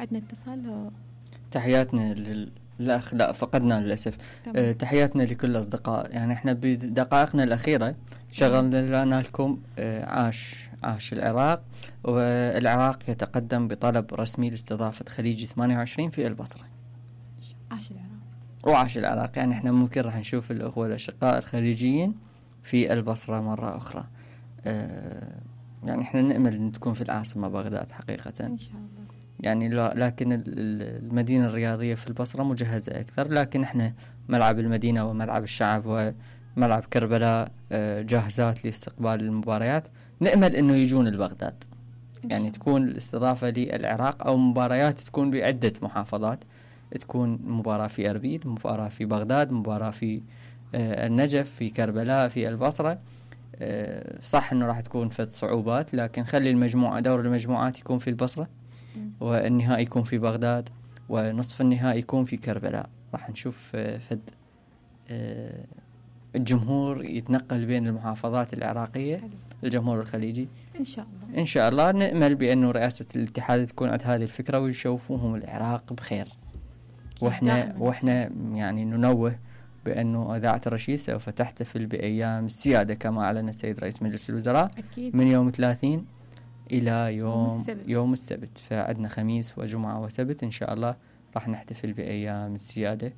عندنا اتصال. تحياتنا الأخ، لا فقدنا للأسف. تحياتنا لكل الأصدقاء. يعني احنا بدقائقنا الأخيرة شغلنا لنا لكم عاش العراق، والعراق يتقدم بطلب رسمي لاستضافة خليجي 28 في البصرة. عاش العراق وعاش العراق. يعني احنا ممكن راح نشوف الأخوة والأشقاء الخليجيين في البصرة مرة أخرى. يعني احنا نأمل أن تكون في العاصمة بغداد حقيقة إن شاء الله. يعني لكن المدينة الرياضية في البصرة مجهزة أكثر، لكن احنا ملعب المدينة وملعب الشعب وملعب كربلاء جاهزات لاستقبال المباريات. نأمل أنه يجون لبغداد، يعني تكون الاستضافة للعراق أو مباريات تكون بعدة محافظات، تكون مباراة في أربيل، مباراة في بغداد، مباراة في النجف، في كربلاء، في البصرة. صح أنه راح تكون فد صعوبات، لكن خلي المجموعة دور المجموعات يكون في البصرة، والنهائي يكون في بغداد، ونصف النهائي يكون في كربلاء. راح نشوف فد الجمهور يتنقل بين المحافظات العراقية. حلو. الجمهور الخليجي إن شاء الله. إن شاء الله نأمل بأنه رئاسة الاتحاد تكون عند هذه الفكرة ويشوفوهم العراق بخير. وإحنا يعني ننوه بأنه إذاعة الرشيد سوف تحتفل بأيام السيادة كما أعلن السيد رئيس مجلس الوزراء. أكيد. من يوم 30 إلى يوم السبت. فعندنا خميس وجمعة وسبت إن شاء الله راح نحتفل بأيام السيادة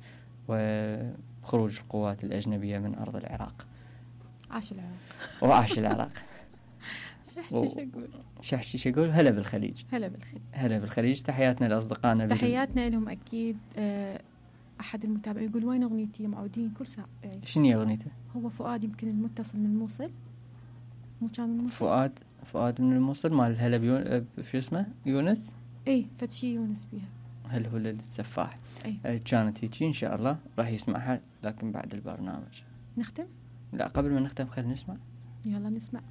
وخروج القوات الأجنبية من أرض العراق. عاش العراق. وعاش العراق. شحشي أقول هلا بالخليج. هلا بالخليج. تحياتنا لأصدقائنا. تحياتنا لهم أكيد. أحد المتابعين يقول وين أغنيتي معودين كل ساعة. شنو أغنيته؟ هو فؤاد يمكن المتصل من الموصل. مو كان من الموصل؟ فؤاد من الموصل مال هلا شو اسمه يونس. فتشي يونس بيها. هل هو السفاح. كانت هيك إن شاء الله راح يسمعها، لكن بعد البرنامج. نختم؟ لا قبل ما نختم خلينا نسمع. يلا نسمع.